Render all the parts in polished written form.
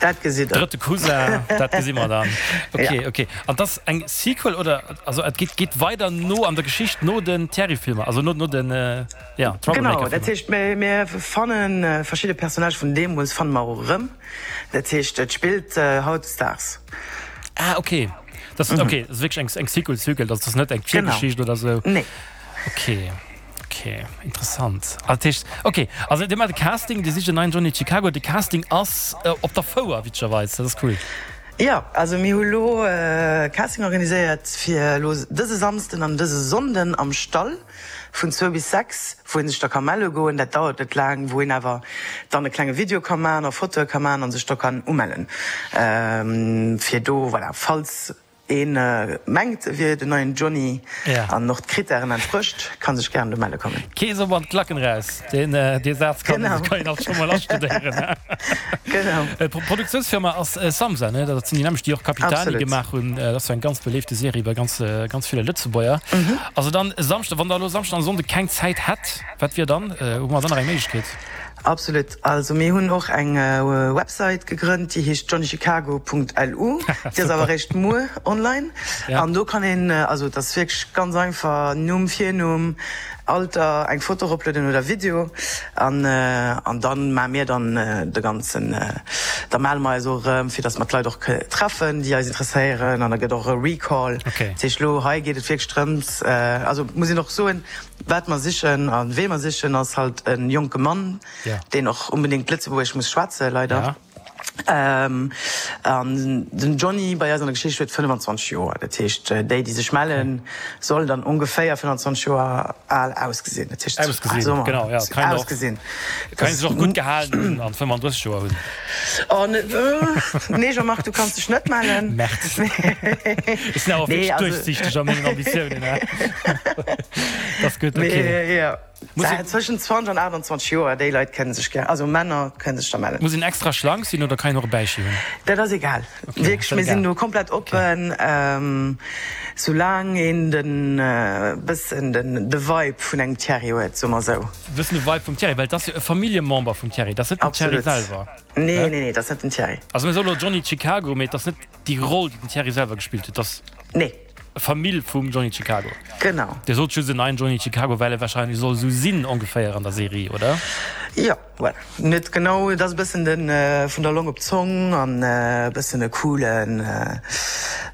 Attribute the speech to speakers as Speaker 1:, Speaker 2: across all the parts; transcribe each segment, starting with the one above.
Speaker 1: Dat gesitt
Speaker 2: Der. Drëtte Cousin, dat gesi mer dann. Ok, ok. An 't ass eng Sequel oder also et geet geet weider no an der Geschicht no den Thierry-Filmer, also no no den ja
Speaker 1: Genau,
Speaker 2: Troublemaker-Filmer.
Speaker 1: dat heescht mir mir fanne verschidde Personnagë vun deemools fanne mer och erëm. Dat heescht et spillt hautdesdaags.
Speaker 2: Ah ok, dat ass ok, dat ass wierklech eng eng Sequel Sequel, dat ass net eng Virgeschicht oder sou.
Speaker 1: Nee.
Speaker 2: Ok. Ok, interessant. Ah, dat heescht, ok, also dir maacht e Casting, dir sicht en neien Johnny Chicago. De Casting ass op der Fouer, witzegerweis, dat ass cool.
Speaker 1: Jo, also mir hu lo e Casting organiséiert fir elo dëse Samsden an dëse Sonnden am Stall vun zwou bis 6, wou ee sech da ka melle goen. Dat dauert net laang, wou een awer dann e klenge Video ka maachen a Fotoe ka maachen a sech da kann umellen fir do, voilà, falls Een mengt e wier den neien Johnny an och d'Krittären entsprécht, kann sech gären do melle kommen.
Speaker 2: Kee soll mat Klacken raus, deen dee Saz kann kann een alt scho mol astudéieren.
Speaker 1: Genau.
Speaker 2: D'Produktiounsfirma ass Samsa, ne? Dat sinn déi nämmlecht, déi och Capitani gemaach hunn. Dat ass jo eng ganz beléifte Serie bei ganz ganz ville Lëtzebuerger. Also dann e Samschde, wann der elo Samschden an Sonnde keng Zäit hätt, wat wier dann? Hu mer dann nach eng Méiglechkeet?
Speaker 1: Absolut. Also mir hunn och eng Website gegrënnt, déi heescht johnnychicago.lu. Déi ass awer eréischt muer online. An do kann een, also et ass wierklech ganz einfach, Numm, Virnumm, Alter, eng Foto eroplueden oder Video. An an dann maache mir dann de ganzen, da melle mer eis och erëm, fir datt mer d'Leit och treffen, déi eis interesséieren. An da gëtt och e Recall. Dat heescht elo hei geet et wierklech drëms, also muss een och soen, Wat mer sichen a wee mer sichen, ass halt e jonke Mann, deen och unbedéngt Lëtzebuergesch muss schwätzen, leider. An den Johnny bei eis an der Geschicht huet 25 Joer. Dat heescht, déi, déi sech mellen, sollen dann ongeféier 25 Joer al ausgesinn.
Speaker 2: Dat heescht, Ausgesinn, genau, ja. Kann een och,
Speaker 1: ausgesinn.
Speaker 2: kann een sech och gutt gehalen hunn an 35 Joer hunn.
Speaker 1: Oh, nee Jean-Marc, du kanns dech net mellen.
Speaker 2: Merde. Ech sinn awer wierklech duerchsiichteg a mengen Ambitiounen. Dat ass gutt,
Speaker 1: ok. Zwëschen 20 an 28 Joer, déi Leit kënne sech gär, also Männer kënne sech da mellen.
Speaker 2: Muss een extra schlank sinn oder kann een och e Bäichi hunn?
Speaker 1: Dat ass egal, wierklech, mir sinn do komplett oppen, soulaang een den bëssen de Vibe vun engem Thierry huet, soe mer esou.
Speaker 2: Bëssen de Vibe vum Thierry, well et ass jo e Familljemember vum Thierry, dat ass net den Thierry selwer.
Speaker 1: Nee, nee, nee, dat ass net den Thierry.
Speaker 2: Also mir soe lo Johnny Chicago, mee et ass net déi Roll, déi den Thierry selwer gespillt huet, et ass
Speaker 1: Nee.
Speaker 2: e Famill vum Johnny Chicago.
Speaker 1: Genau.
Speaker 2: Dir sot just en neien Johnny Chicago, well e warscheinlech soll esou sinn ongeféier an der Serie, oder?
Speaker 1: Jo, voilà. Net genau, et ass e bëssen de vun der Long op d'Zong an e bëssen e coolen,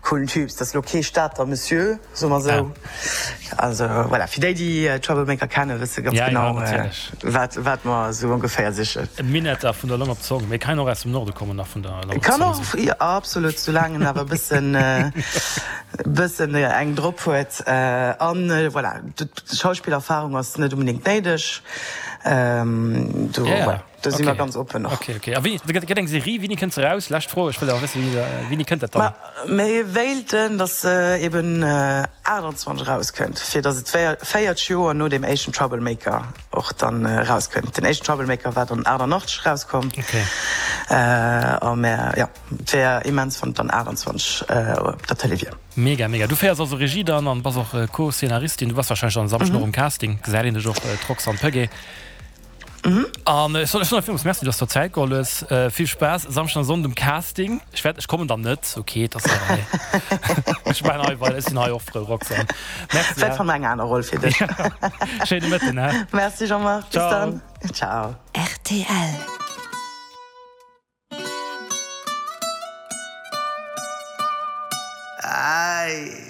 Speaker 1: coolen Typ. Et ass lo kee Stater Monsieur. Soe mer esou. Also voilà, fir déi, déi Troublemaker kennen, wësse ganz genau, wat, wat mer esou ongeféier sichen.
Speaker 2: E Minetter vun der Long op d'Zong, mee kann och aus dem Norde kommen nach vun der
Speaker 1: Long op d'Zong. Kann och, jo, absolut, soulaang en awer e bëssen, bëssen eng drop huet. An voilà, d'Schauspillerfahrung ass net onbedéngt néideg. Do, voilà. Do si mer ganz oppen och.
Speaker 2: Ok, ok. A wéini, et gëtt eng Serie, wéini kënnt se eraus? Lescht Fro, ech wëll awer wëssen, wéini kënnt dat
Speaker 1: dann? Ma mir wéilten, datt se eben 28 erauskënnt, fir datt et 40 Joer no deem éischten Troublemaker och dann erauskënnt. Den éischten Troublemaker war dann 88 erauskomm.
Speaker 2: Ok.
Speaker 1: A mär, jo, et wär immens, wann et dann 28 op der Tëlee wier.
Speaker 2: Mega, mega. Du féiers also Regie dann an bass och Co-Szenaristin. Du bass warscheinlech dann e Samschden och um Casting, gesäit een dech och, d'Roxanne Pögge. An ech soen der villmools Merci, dass du der Zäit geholl hues. Vill Spaass e Samschden an Sonnden um Casting. Ech wäert, ech kommen dann net, ok, et ass jo hei. Ech maachen hei weider, ech sinn hei och frou, Roxanne.
Speaker 1: Merci, Vläicht fanne mer eng aner Roll fir dech.
Speaker 2: Schéine Mëtten,
Speaker 1: he? Merci Jean-Marc, bis dann. Ciao.
Speaker 3: Rtl.
Speaker 1: Ei.